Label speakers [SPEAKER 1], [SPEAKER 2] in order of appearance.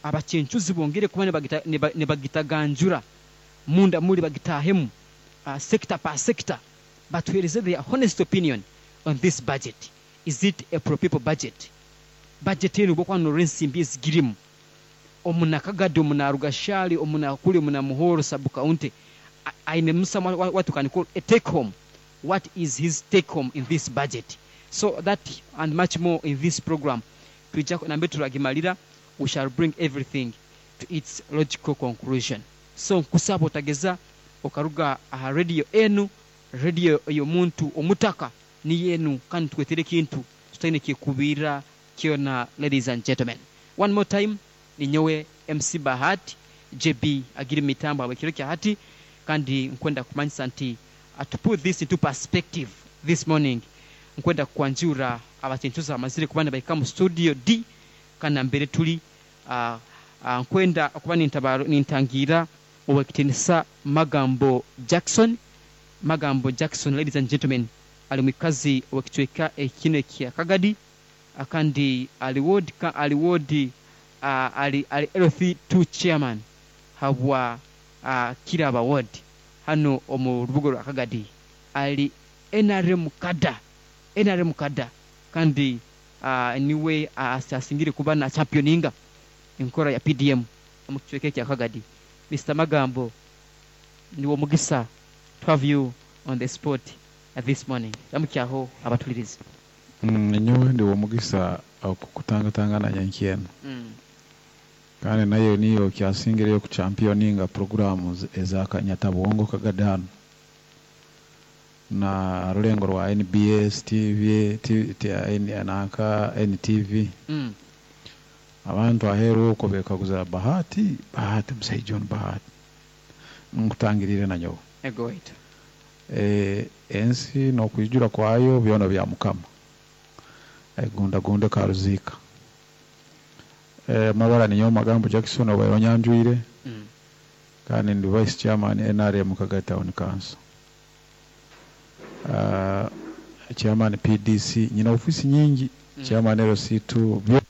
[SPEAKER 1] Abacencuzi bongere kuba nibagitaganjura munda muri bagitahemu sector per sector, batuhereze their honest opinion on this budget. Is it a pro people budget? Budget enu obu okuba norora ensimbi ezigirimu, omuna Kagadi, omuna Rugashari, omuna kuri, omuna Muhoro sub county, ainemu some what you can call a take home. What is his take home in this budget? So that and much more in this program. Twija nambere turagimalira, we shall bring everything to its logical conclusion. So nkusaba otageza okaruga aha radio enu, radio ey'omuntu omutaka niyo enu, kandi tukwetera ekintu tutaine kyekubiira kyona, ladies and gentlemen. One more time, ninyowe MC Bahati, JB agiri mumitambo habw'ekiro kya hati, kandi nkwenda kukumanyisa nti to put this into perspective this morning, nkwenda kukwanjurra abacencuzi abamazire kuba nibahika mu studio D kandi nambere tuli. Nkwenda okuba nintangiira Ow'ekitiinisa Magambo Jackson. Magambo Jackson, ladies and gentlemen, ali mwikazi ow'ekicweka kinu ekya Kagadi kandi ali ward, ali ward, ali ali LC2 chairman habwa Kiraba ward hanu omu rubuga rwa Kagadi. Ali nrm kada, nrm kada kandi niwe asingire kuba na championinga enkora ya PDM omu kicweka ekya Kagadi. Mister Magambo, niwe omugisa to have you on the spot this morning. Ramukyaho abatulirizi.
[SPEAKER 2] Nyowe ndi w'omugisa okukutangatangana nyenkya enu. Kandi nayo niyo okyasingireyo kuchampioninga puroguraamu eza Kanyatabwongo Kagadi hanu na rulengo rwa NBS TV, nanka NTV. Abantu aheeru okwo bekaguza Bahati, Bahati musaija onu Bahati. Nkutangiriire nanyowe.
[SPEAKER 1] Ego waitu.
[SPEAKER 2] Ensi n'okwijura kwayo byona bya Mukama. Egundagunda ekaruziika. Amabara ninyowe Magambo Jackson obaire onyanjwire kandi ndi Vice Chairman NRM Kagadi Town Council. Chairman PDC, nyine ofiisi nyingi, Chairman LC2.